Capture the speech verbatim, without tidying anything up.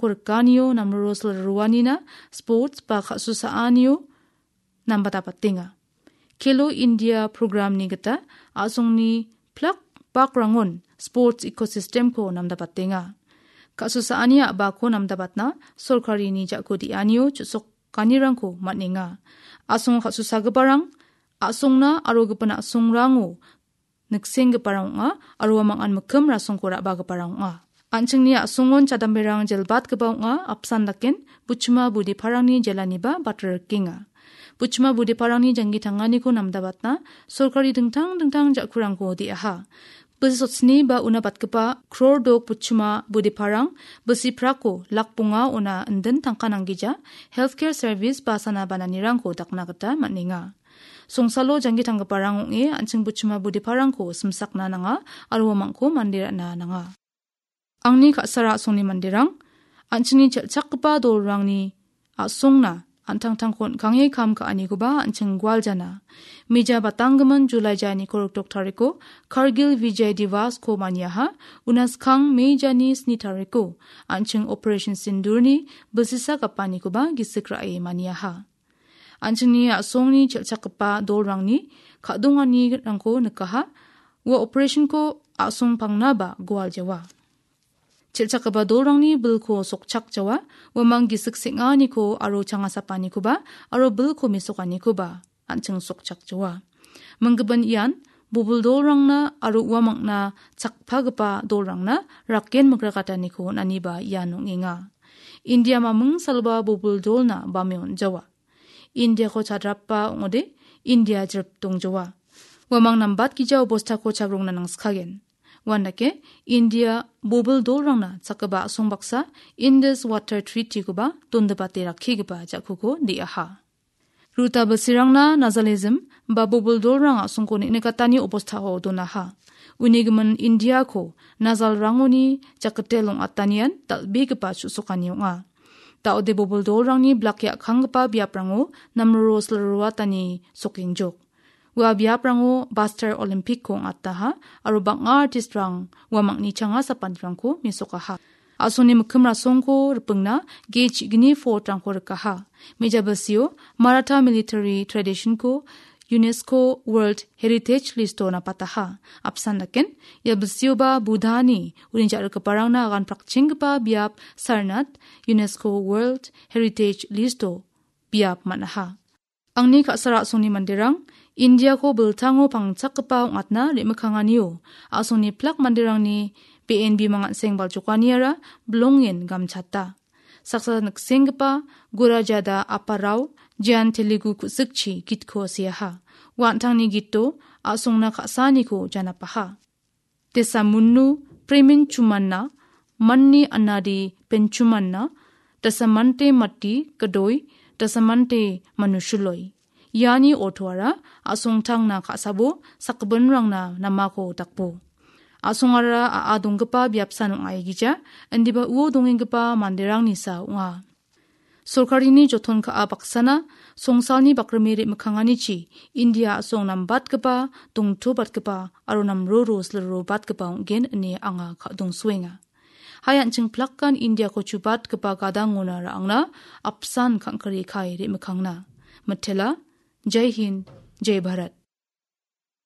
rikanio namroro silroanina sports ba ka·susaanio namdapbatenga. Khelo India programni gita a·songni plak bakrangon sports ecosystemko namdapbatenga. Ka·susaani a·bako namdapbatna sorkarini jako de·anio chu·sokanirangko man·enga. A·songo ka·susagiparang a·songna aro gipin a·songrango niksenggiparang ong·a aro uamang an mikkim rasongko ra·bagiparang ong·a. An·chingni a·songon chadamberang jelbatgipa ong·a, apsan daken Buchima Budeparangni jelaniba batrrikenga. Buchima Budeparangni janggi tanganiko namdapbatna sorkari dingtang dingtang ja·kurangko de·aha. Bisi sotsni ba una batgipa kror dok Buchima Budeparang bisi prako lak bonga ona indin tangka nanggija healthcare service ba sana bananirangko dakna gita man·enga. Songsalo janggi tanggiparang ong·e an·ching Buchima Budeparangko simsakna nanga aro uamangko mande ra·na nanga. Angni ka·sara a·songni manderang, an·chingni chelchakgipa dolrangni a·songna an·tangtangko on·kange kam ka·anikoba an·ching gualjana. Mija batanggimin Julai ja niko rikdok tariko Kargil Vijay Divasko maniaha, una skang Mei jani sni tariko an·ching Operation Sindurni bisisa gapanikoba gisik ra·e maniaha. An·chingni a·songni chelchakgipa dolrangni ka·donganirangko nikaha. Ua operationko a·song pangnaba gualjawa. Chelchakgipa dolrangni bilko sokchakjawa, uamang gisik seng·aniko aro changasapanikoba aro bilko mesokanikoba an·ching sokchakjawa. Minggipin ian bobil dolrangna aro uamangna chakpagipa dolrangna raken mikrakataniko on·aniba ian ong·enga. India maming saloba bobil dolna bame on·jawa. Indiako chadrapba ong·ode, India jrip dongjoa. Uamang nambatgija obostako chagrongna nangskagen. Uandake, India bobil dolrangna chakgipa a·song baksa Indus Water Treaty-koba dondipate rakkigipa ja·kuko de·aha. Ruta bilsirangna Nazalism ba bobil dolrang a·songko neng·nikatani obostao donaha. Uni gimin Indiako Nazalrangoni jakkitel ong·atanian dal·begipa chu·sokani ong·a. Da·ode bobil dolrangni blak ya·kanggipa biaprango namroro silroatani sokengjok. Ua biaprango Buster Olympic-ko ong·ataha aro bang·a artist-rang uamangni changa sapanirangko mesokaha. A·songni mikkim rasongko ripingna ge chigni fort-rangko rikaha. Meja bilsio Maratha military tradition-ko UNESCO World Heritage List-o napataha. Apsan daken, ia bilsioba Buddhani uni ja·rikgiparangna agan prakchenggipa biap Sarnath UNESCO World Heritage List-o biap man·aha. Angni ka·sara a·songni manderang, Indiako biltango pangchakgipa ong·atna re·mikkanganio, a·songni plak manderangni be·en bimang an·seng baljokaniara bilongen gamchata. Saksa niksenggipa Gurajada Aparao Jian Telugu ku·sikchi gitko seaha. Ua an·tangni gito a·songna ka·saaniko janapaha. Desamunnu premin chumanna, manni anadi penchumanna, dasamante mati kadoi, dasamante manushuloi. Iani ortoara a·songtangna ka·sabo sakgipinrangna namako dakbo. A·songara a·a donggipa biapsan ong·aigija, indiba uo dongenggipa manderangnisa ong·a. Sorkarini joton ka·a baksana songsalni bakrime re·mikkanganichi India a·song nambatgipa, dongtobatgipa aro namroro silrobatgipa ong·gen ine anga ka·dongsoenga. Hai an·ching plakan Indiako chubatgipa gadangona ra·angna apsan kangkari kai re·mikkangna. Mitela, Jai Hind, Jai Bharat.